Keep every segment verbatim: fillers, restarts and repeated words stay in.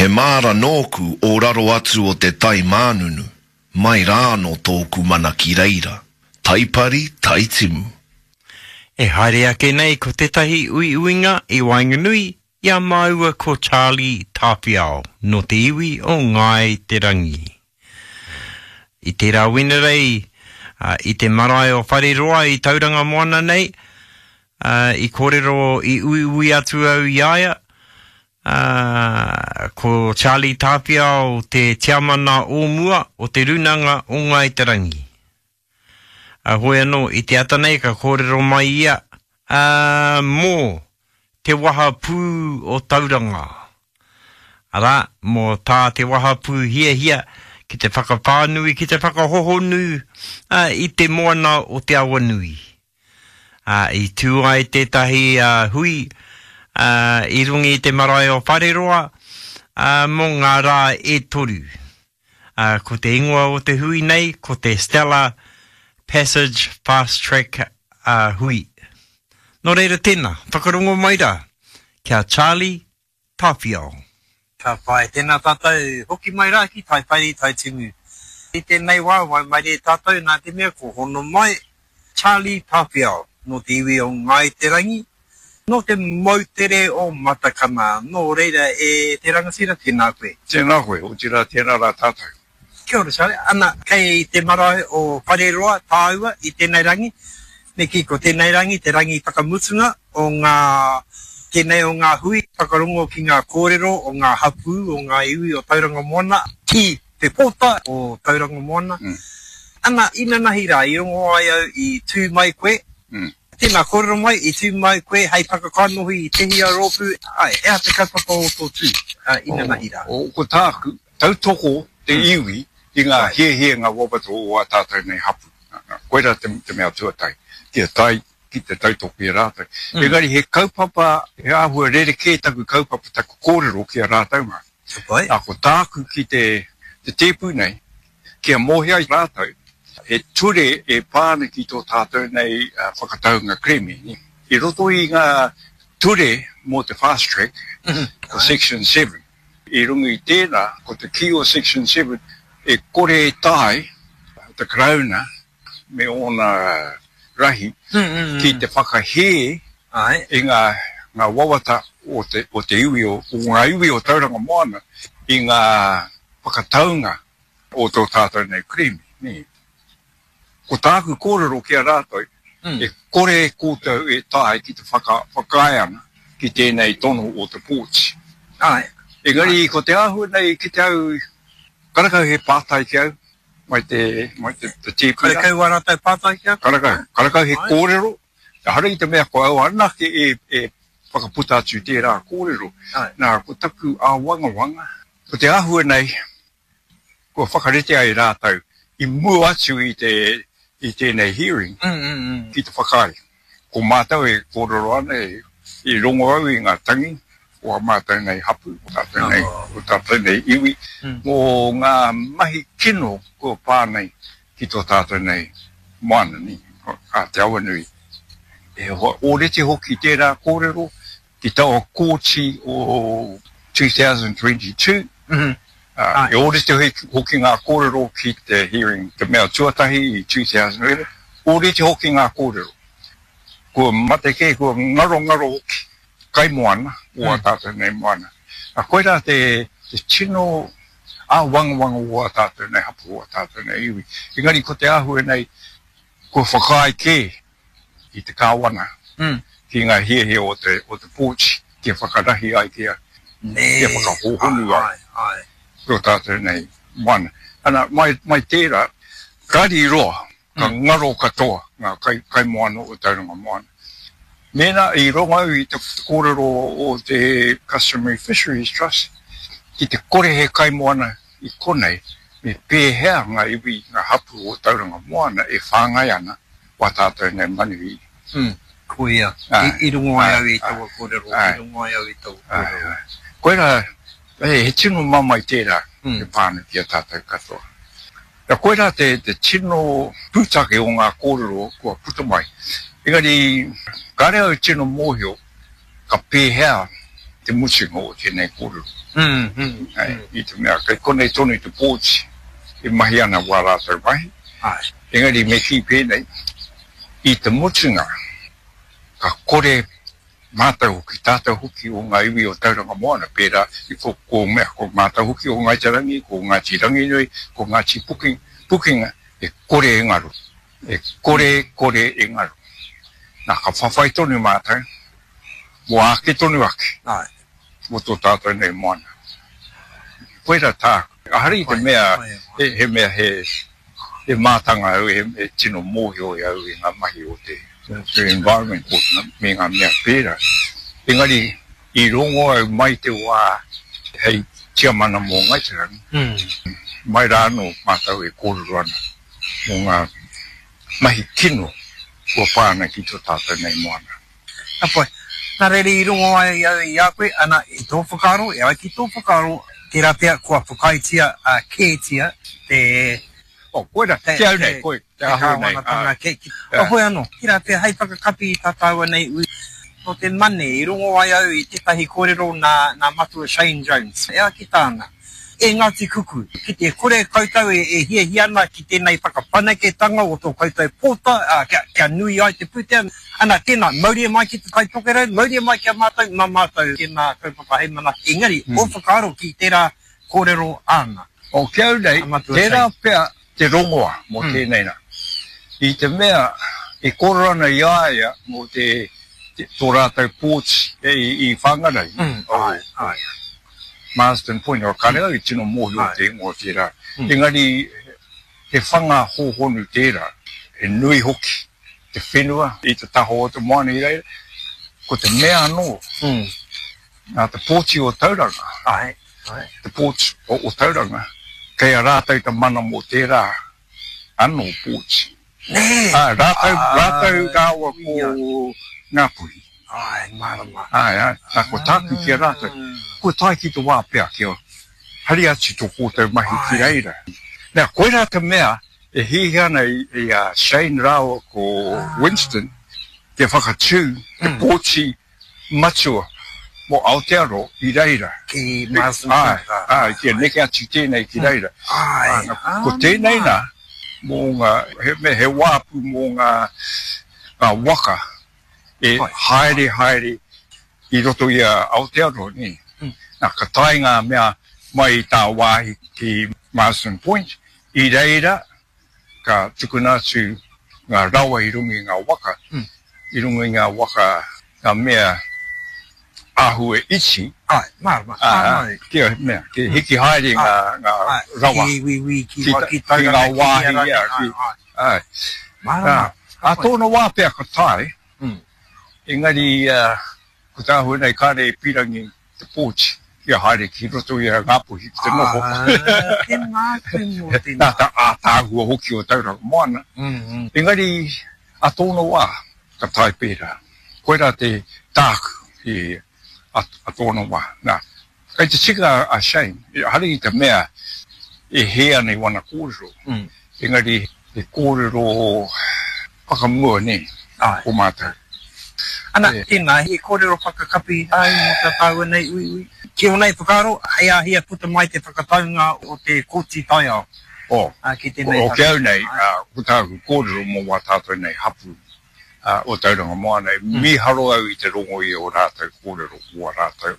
He māra nōku o raro atu o te tai mānunu, mai rāno tōku mana ki reira. Taipari, taitimu. E haere ake nei ko tētahi uiuinga i waenganui i a māua ko Charlie Tāwhiao nō te iwi o Ngāi Te Rangi. I tērā Wenerei, i te marae o Whareroa i Tauranga Moana nei, i kōrero i uiui atu au i a ia, ko Charlie Tāwhiao te tiamana o mua o te Rūnanga o Ngāi Te Rangi. Hoi anō, i te ata nei ka kōrero mai ia mō te wahapū o Tauranga. Arā, mō tā te wahapū hiahia ki te whakawhānui, ki te whakahohonu i te moana o Te Awanui. I tū ai tētahi hui i runga i te marae o Whareroa mō ngā rā e toru. Ko te ingoa o te hui nei, ko te Stella Passage Fast Track hui. Nō reira tēnā, whakarongo mai rā ki a Charlie Tāwhiao. Ka pai, tēnā tātou, hoki mai rā ki Taipari, Taitimu. I tēnei wā, waimarie tātou nā te mea ko hono mai Charlie Tāwhiao, nō te iwi o Ngāi Te Rangi, nō te moutere o Matakana. Nō reira e te rangatira, tēnā koe. Tēnā koe, otirā tēnā rā tātou. Kia ora Charlie, ana, kei te marae o Whareroa tāua i tēnei rangi, me kī ko tēnei rangi te rangi whakamutunga o ngā, tēnei o ngā hui whakarongo ki ngā kōrero o ngā hapū o ngā iwi o Tauranga Moana ki te pōta o Tauranga Moana. Ana, inanahi rā, i rongo ai au i tū mai koe, tēnā kōrero mai, i tū mai koe hei whakakanohi i te hia rōpū, ai, he aha te kaupapa o tō tū, inanahi rā? Ko tāku, tautoko te iwi i ngā hiahia ngā wawata o ā tātou nei hapū. Koirā te, te mea tuatahi, kia tae ki te tautoko i a rātou. Engari he kaupapa, he āhua rerekē taku kaupapa, taku kōrero ki a rātou mā. Nā, ko tāku ki te, te tēpu nei, kia mōhio ai rātou, he ture e pā ana ki tō tātou nei whakataunga kerēme. I roto i ngā ture mō te fast track, ko section seven. I runga i tēnā, ko te kī o section seven, e kore e tae te Karauna me ōna rahi ki te whakahē i ngā, ngā wawata o te, o te iwi, o, o ngā iwi o Tauranga Moana i ngā whakataunga o tō tātou nei kerēme. Ko tāku kōrero ki a rātou, e kore koutou e tae ki te whaka, whakaae ana ki tēnei tono o te pōti. Engari ko te āhua nei ki te au, karakau he pātai ki au, mai te, mai te, te tīpuna. Karakau wā rātou pātai ki au? Karakau, karakau he kōrero, ehara i te mea ko au anake e, e whakaputa atu tērā kōrero. Nā, ko taku āwangawanga, ko te āhua nei, kua whakarite ai rātou i mua atu i te, i tēnei hearing ki te whakaae. Ko mātou e kōrero ana, e, i rongo au i ngā tangi, o a mātou nei hapū, o tātou nei, o tātou nei iwi, mō ngā mahi kino kua pā nei ki tō tātou nei moana, ni, a Te Awanui. E ōrite hoki tērā kōrero ki taua kōti o two thousand twenty-two, e ōrite hoki ngā kōrero ki te hearing, te mea tuatahi i two thousand eleven, ōrite hoki ngā kōrero. Kua mate kē, kua ngarongaro hoki kaimoana o a tātou nei moana. Nā, koirā te, te tino āwangawanga o a tātou nei hapū, o a tātou nei iwi. Engari ko te āhua nei, kua whakaae kē i te kāwana ki ngā hiahia o te, o te pōti, kia whakarahi ai, kia, kia whakahōhonu ai tō tātou nei moana. Ana, mai, mai tērā, kari roa, ka ngaro katoa ngā kai, kaimoana o Tauranga Moana. Mēnā i rongo au i te kōrero o te Customary Fisheries Trust, ki te kore he kaimoana i konei, me pēhea ngā iwi, ngā hapū o Tauranga Moana e whāngai ana wā tātou nei manuhiri. Koia, i rongo ai au i taua kōrero, i rongo ai au i taua kōrero. Koirā, he tino mamae tērā e pā ana ki a tātou katoa. Nā, koirā te, te tino pūtake o ngā kōrero kua puta mai. Engari, kāre au tino mōhio ka pēhea te mutunga o tēnei kōrero. Mm, mm, Ai, i te mea, kei konei tonu te pōti e mahi ana wā rātou mahi. Ai. Engari me kī pēnei, i te mutunga, ka kore mātou hoki, tātou hoki o ngā iwi o Tauranga Moana, pērā i ko, ko mea, ko mātou hoki o Ngāi Te Rangi, ko Ngāti Ranginui, ko Ngāti Puki, Pukenga, e kore e ngaro. E kore, kore e ngaro. Nā, ka whawhai tonu mātou, mō ake tonu ake, Ai. mō tō tātou nei moana. Koira tāku. Ahari i te mea, he, he mea he, he mātanga au, he, he tino mōhio i au i ngā mahi o te, te environment court me ngā mea pērā. Engari, i rongo au mai te wā hei tiamana mō Ngāi Te Rangi, Mm. mai rā anō mātou e kōrero ana mō ngā mahi kino kua pā ana ki tō tātou nei moana. Ka pai. Nā reira i rongo ai au i a koe, ana, i tō whakaaro, e ai ki tō whakaaro, tērā pea kua whakaaetia uh, kētia te Oh, koira, te, te au nei, te, koe, te te āhua nei. kāwanatanga Ai, ke, ki, ai. oh, hoi anō, tērā pea hei whakakapi i tā tāua nei ui. Nō te mane, i rongo ai au i tētahi kōrero nā, nā Matua Shane Jones. E ai ki tāna, e Ngāti Kuku, ki te kore koutou e, e hiahia ana ki tēnei whakawhanaketanga o tō koutou pōta, uh, kia, kia nui ai te pūtea, ana tēnā, mauria mai ki te Tai Tokerau, mauria mai ki a mātou, mā mātou tēnā kaupapa hei mana. Engari, mm. o whakaaro ki tērā kōrero āna. O ki au nei, A Matua tērā Shane. pea te rongoa mō Mm. tēnei nā. I te mea, e kōrero ana i a ia mō te, te tō rātou pōti e, i, i Whangarei. Mm. O, Ai, ai. Marsden Point, o kare au i tino mōhio Ai. te ingoa tērā. Mm. Engari, he whanga hōhonu tērā, he nui hoki te whenua i te taha o te moana i reira. Ko te mea anō, Mm. nā te pōti o Tauranga, Ai, ai. te pōti o, o Tauranga, kei a rātou te mana mō tērā anō pōti. Nē! Ā, rātou, rātou rāua Ia. ko Ngāpuhi. Ai, mārama. Ai, ai, nā, ko tāku ki a rātou. Ko tae ki te wā pea kia hari atu tō koutou mahi ki Ai. reira. Nā, koirā te mea e hiahia ana i, i a Shane rāua ko Winston te whakatū te Mm. pōti matua mō Aotearoa i reira. Ki Marsden Ai, Point. ai, kia neke atu tēnei ki reira. Ai, Nā, ko tēnei nā, mō ngā, he, me he wāpu mō ngā, ngā waka e Ai. haere haere i roto i a Aotearoa, nē. Mm. Nā, ka tae ngā mea mai i tā wāhi ki Marsden Point, i reira ka tukuna atu ngā rawa i runga i ngā waka, Mm. i runga i ngā waka ngā mea āhua iti, Ai, mārama. ā, Ai. kia mea, kia hiki haere ngā, ngā Ai, rawa. Ki wiwi, ki, Ki ki, ta- ki ki Tauranga, ngā wāhi, Hierangi. ia, Ai, ki- ai. Ai. Mārama. Ā, ā tōna wā pea ka tae, Mm. engari uh, ko tā āhua nei kāre e pirangi te pōti kia haere ki roto i a Ngāpuhi ki te noho. Ah, tēnā koe mō tēnā. Nā tā ātaahua hoki o Tauranga Moana. Mm, mm. Engari, a tōna wā, ka tae pērā. Koirā te tāku i a, a tōna wā. Nā, kei te tika a Shane, hari i te mea e hē ana i wana kōrero. Mm. Engari, he kōrero whakamua, nē, Ai. ko mātou. Ana, E. tēnā, he kōrero whakakapi ai mō tā tāua nei uiui. Ki o nei whakaaro, hei āhia puta mai te whakataunga o te kōti taiao. O, Ah, ki tēnei o, o ki au nei, Ai. uh, ko tāku kōrero mō wā tātou nei hapu uh, o Tauranga Moana, mm. mīharo au i te rongo i o rātou kōrero, o rātou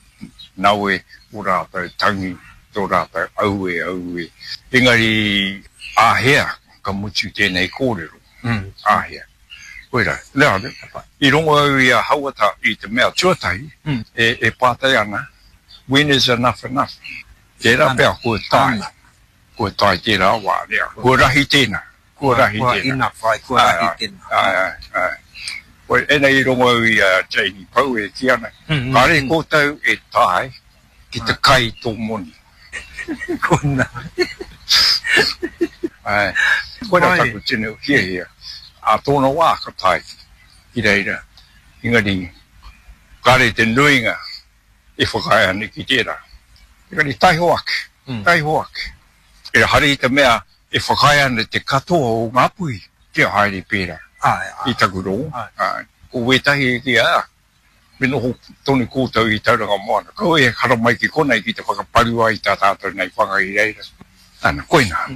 nawe, o rātou tangi, tō rātou aue, aue. Engari, āhea ka mutu tēnei kōrero, Mm. āhea. Koira, nā, i rongo au i a Hauata i te mea tuatahi, Mm. e, e pātai ana, when is enough enough? Tērā Ana. pea kua tae, Ana. kua tae tērā wā, nea. Kua rahi tēnā, kua rahi Kua tēnā. enough, ai, kua Ai, rahi ai, tēnā. Ai, ai, ai. Koe, ena i rongo au i a Janie Pau e ki ana, Mm, mm, kāre mm. koutou e tae ki te kai tō moni. Kona. Ai, koira Ai. taku tino hiahia. A tōna wā ka tae ki reira. Engari, kāre te nuinga e whakaae ana ki tērā. Engari, taiho ake, Mm. taiho ake. E hari i te mea e whakaae ana te katoa o Ngāpuhi kia haere pērā Ai, ai. i taku rongo. Ai. Ai. Ko wētahi ki a, Me noho tonu koutou i Tauranga Moana. Kaua e haramai ki konei ki te whakaparu ai i tā tātou nei whanga i reira. Ana, koina.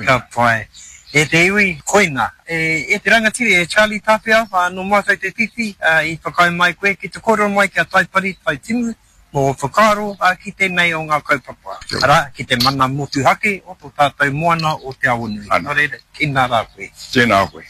Ka pai. E te iwi, koina. E, e te rangatira, e Charlie Tāwhiao, nō mātou te whiwhi, i whakaae mai koe ki te kōrero mai ki a Taipari, Taitimu, mō ō whakaaro ki tēnei o ngā kaupapa, arā, ki te mana motuhake o tō tātou moana o Te Awanui. Nō reira, tēnā rā koe. Tēnā koe.